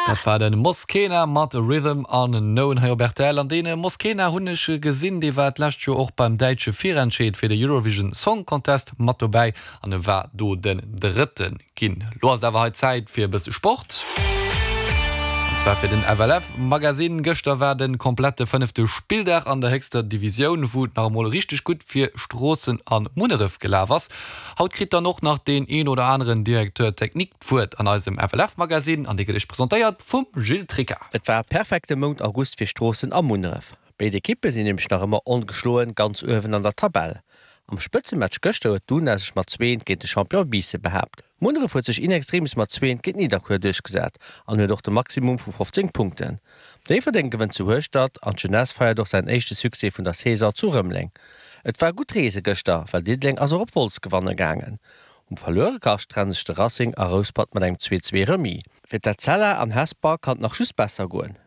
Dat war de Mosquena mat Rhythm Unknown hei op rtl. An dee Mosquena hunn ech gesinn, dee war d'lescht Joer och beim däitsche Virentscheed fir de Eurovision Song Contest mat dobäi an e war do den Drëtte ginn. Lo ass et awer hei Zäit fir e bësse Sport. An zwar fir den FLF Magazine. Gëschter war de komplette fënnefte Spilldag an der héchster Divisioun, wou et nach emol richteg gutt fir Stroossen a Munneref gelaf ass. Haut kritt dann och nach deen een oder aneren Directeur technique d'Wuert an eisem FLF Magazine an dee gëtt iech presentéiert vum Gilles Tricca. Et war e perfekte Mount August fir Stroossen a Munneref. Béid Ekippe sinn nämlech nach ëmmer ongeschloen ganz uewen an der Tabell. Am Spëtzematch gëschter huet d'Una sech mat 2 géint de Champion Biissen behaapt. Munneref huet sech in extremis mat 2 géint Nidderkuer duerchgesat an huet och de Maximum vu 15 Punkten. Déifferdeng gewënnt zu Hueschtert an d'Jeunesse feiert och säin éischte Succès vun der Saison zu Rëmeleng. Et war gutt Reese gëschter, well Diddeleng ass och op Wolz gewanne gaangen. Um Verluerekascht trenne sech de Racing a Rouspert mat engem 2, 2 Remis. Fir d'Etzella an Hesper kann et nach just besser goen.